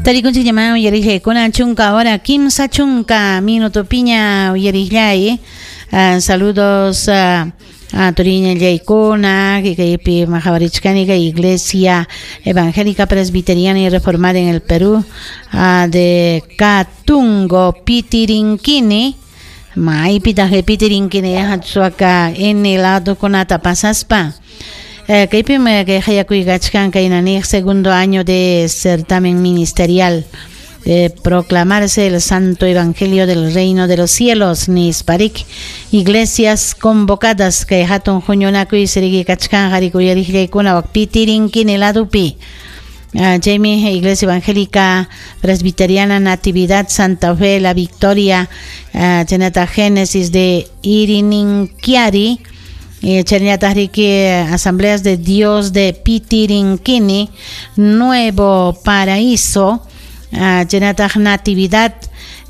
Tarikunchikllaman uyariqllaykuna chunka hora kimsa chunka minutopiña uyariqllay. Saludos turiñallaykuna kaypi qhawarichkani kay Iglesia Evangélica Presbiteriana y Reformada en el Perú de Catungo Pitirinquini. Maypitaq Pitirinquini Suaca N ladokunata pasaspa. Kaypim kay hayakuy kachkan kayna niq segundo año de certamen ministerial de proclamarse el santo evangelio del reino de los cielos nisparik iglesias convocadas kay hatun huñunakuy siriki kachkan harikuyariqllaykuna wak Pitirinquini ladupi. Chaymi Iglesia Evangélica Presbiteriana Natividad Santa Fe La Victoria, chaynata Génesis de Irininquiari, chaynata riki Asambleas de Dios de Pitirinquini, Nuevo Paraíso, chaynata Natividad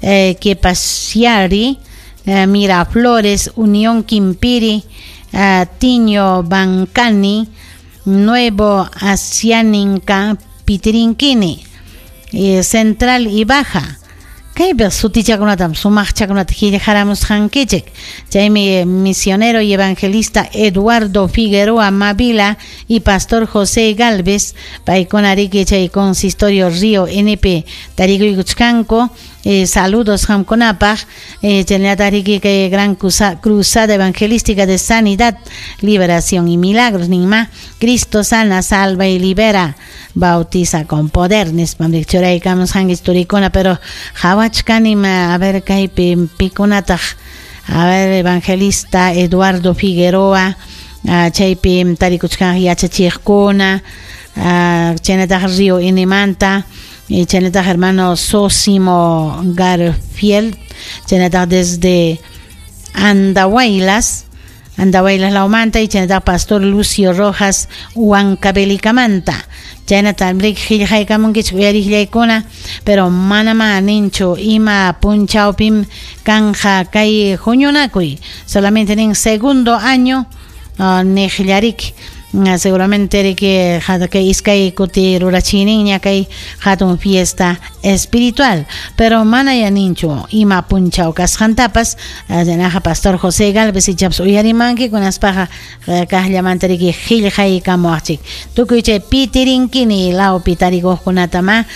Quepasiari, Miraflores, Unión Quimpiri, Tiño Bancani, Nuevo Asianinca, Pitirinquini, Central y Baja. Kaypi sutichakunatam sumaqchakunata qillqaramusqankichik. Chaymi misionero y evangelista Eduardo Figueroa Mavila y pastor José Galvez paykuna riki chay consistorio Río NP tarikuykuchkanku. Saludos qamkunapaq. Chaynata riki kay gran cruzada evangelística de sanidad, liberación y milagros ninma. Cristo sana, salva y libera, bautiza con poder nispam churaykamusqankichik turikuna, pero qhawachkanim a ver kaypi pikunataq. A ver, evangelista Eduardo Figueroa, chaypi tarikuchkan yachachiqkuna, chaynataq Río Inimanta, chaynataq hermano Sosimo Garfield, chaynataq desde Andahuaylas, Andahuaylas lawmanta, y chaynataq pastor Lucio Rojas Huancavelica-manta. Chaynata qillqaykamunkichik uyariqllaykuna, pero manama ninchu ima punchawpim kanja kay huñunakuy, solamente nin segundo año niqllarik. Seguramente riki kay iskay kuti rurachiniña kay hatun fiesta espiritual, pero mana ya ninchu ima punchaw kasqantapas. Naja pastor José Galvez ichapas uyarimanki kunaspaqa kaqllamanta riki qillqaykamuwaqchik. Tukuy chay Pitirinquini lawpi tarikuqkunatama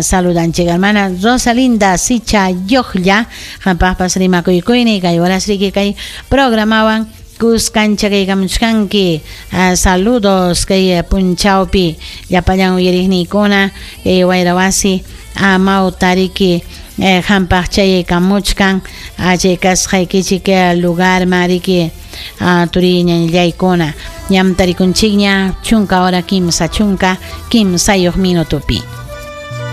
saludanchik. Hermana Rosalinda Sicha Yoqlla qampaqpas rimakuykuyni kay horas riki kay programawan kuskancha kaykamuchkanki. Saludos kay punchawpi llapallan uyariqniykuna kay wayrawasi amawtariki qampaq chayaykamuchkan chay kasqaykichik lugar mariki turiñallaykuna. Ñam tarikunchikña chunka hora kimsa chunka kimsayuq minutupi.